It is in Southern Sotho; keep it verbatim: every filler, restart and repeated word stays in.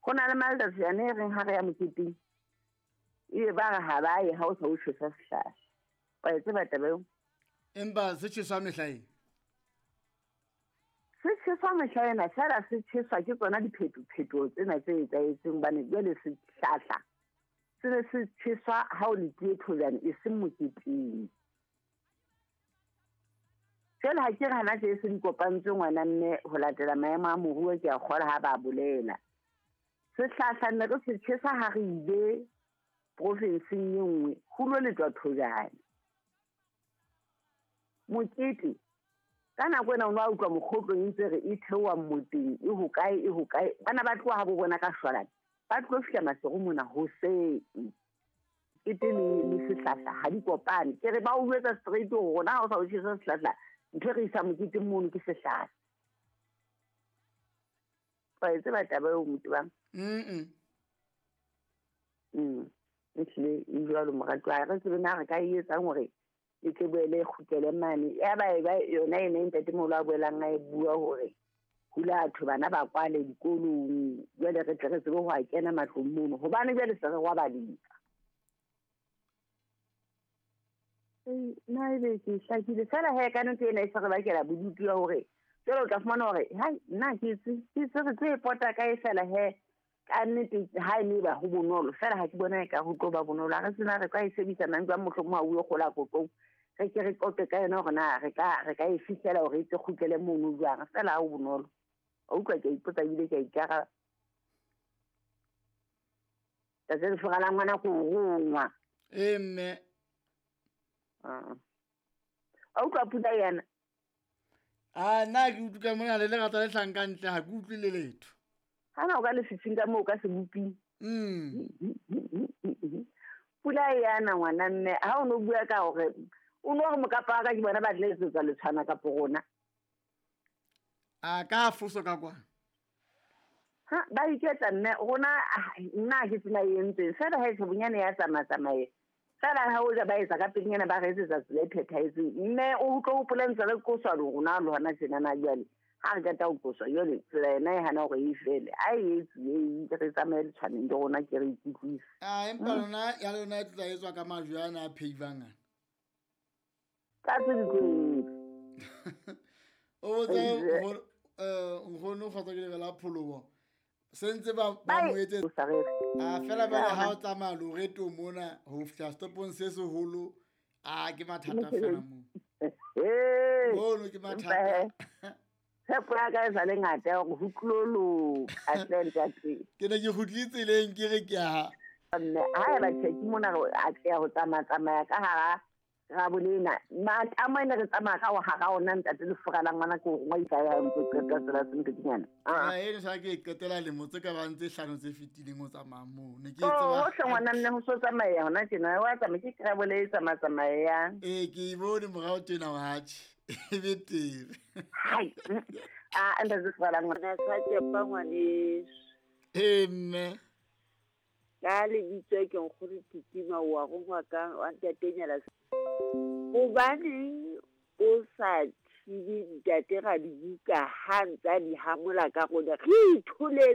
Go na le malatsi a ne reng ha re ya moketeng ebe ba re ha ba ye ha o sa o tjhesa sehlahla. Wa e tseba taba eo? Empa se tjheswa mehla eng? Se tjheswa mehla ena fela se tjheswa ke tsona diphetophetoho tsena tse etsahetseng hobane jwale sehlahla se ne se tjheswa ha o letile thojane e seng moketeng. Jwale ha ke re hana tje se di kopantswe ngwana mme ho latela maemo a moruo ke a kgola ha ba bolela. Sehlahla ne re se tjhesa ha re ile profinseng e nngwe ho lo letwa thojane. Mokete ka nako ena o no a utlwa mokgotlong e ntse re e theoha mmoteng e hokae e hokae bana ba tloha ha bo bona ka shwalane ba tlo fihla Maseru mona hoseng. Kete le le sehlahla ha di kopane. Ke re ba o jwetsa straight hore rona ha o sa o tjhesa sehlahla ntho e re isa moketeng mono ke sehlahla. Wa e tseba taba eo motho bang? Mm. Mm. Ehlile e jwalo moratuwa ha re tsebe na re ka e etsang hore e tle boele e kgutlele mane. Ya ba e ba yona ena e ntatemoholo a boelang a e bua hore hula batho bana ba kwale dikolong jwale re tle re tsebe ho a kena matlong mono hobane jwale se re robaletsa. Nna ebe ke hlakile fela he ka nnete ena e se re bakela bodutu ya hore jwale o tla fumana hore hai nna ke itse ke itse re tlo e pota kae fela he ka nnete ha e ne ba ho bonolo fela ha ke bona e ka ho tlo ba bonolo ha re sena re ka e sebedisa nang jwang mohlomong ha o yo kgola kotlong re ke re qoqe ka yona hore na re ka re ka e fihlela hore e tle kgutlele mono jwang fela ha ho bonolo. O utlwa ke a ipotsa ebile ke a ikaraba. Tsatsi le fora la ngwana ko rongwa. Ee mme. Ah. A utlwa pula yana? Ah nna ke utlwa mona le lerata le hlang ka ntle ha ke utlwe le letho. Hana o ka lefifing ka moo ka seboping. Mm. Pula yana ngwana mme ha o no bua ka hore o no re mokapa wa ka ke bona ba tla etsetsa letshwana kapo rona. A ka foso ka kwa. Ha ba iketsa mme rona nna ke tsela e entseng fela ha e bonyane ya tsamaya tsamaye. Fela ha o ja ba etsa ka pelenyana ba re etsetsa tsela e phethahetseng mme o utlwe o hopola ntse re qoswa le rona le hona tjena na jwale. Ha re qeta ho qoswa jwale tsela ena e hana hore e fele a e etsuwe e re tsamaye letshwaneng le rona ke re ikutlwise. Ah empa lona ya lona e tla etswa ka majwe ana a pheivang ana. Ka tse di tlo etswa. O botsa hore eh nkgono kgotsa ke lebela pholobo se ntse ba ba mo etsetsa a fela ba ha o tsamaya loreto mona ho fihla stopong se seholo a ke mathata fela moo. Mono ke mathata. Tshepo ya ka e sa le ngata ya hore ho tlo loka hle ntate. Ke ne ke kgutlile tseleng ke re ke a Mme ha eba tjhe ke mona re atleha ho tsamaya tsamaya ka hara Rabolena matamo ene re tsamaya ka ho hara ona ntate lefura la ngwana ke hore ngwa ya ntse qeta tsela sentekinyana. Ah ene sa ke qetela lemo tse ka bang tse hlano tse fetileng o tsamaya moo ne ke Oh tseba. hohle ngwana mme ho so tsamaya hona tjena wa tsamaya ke Krabole e tsamaya tsamayang. Ee ke e bone morao tjena wa tjhe e betere. Hai ah ntate lefura la ngwana. Sa tšepa ngwaneso. Ee mme. Ka lebitso ke nkgono Titima wa rongwa ka wa ntatenyana. Hobaneng o sa thibe ntate Radibuka ha ntsa di hamola ka rona re itholetse.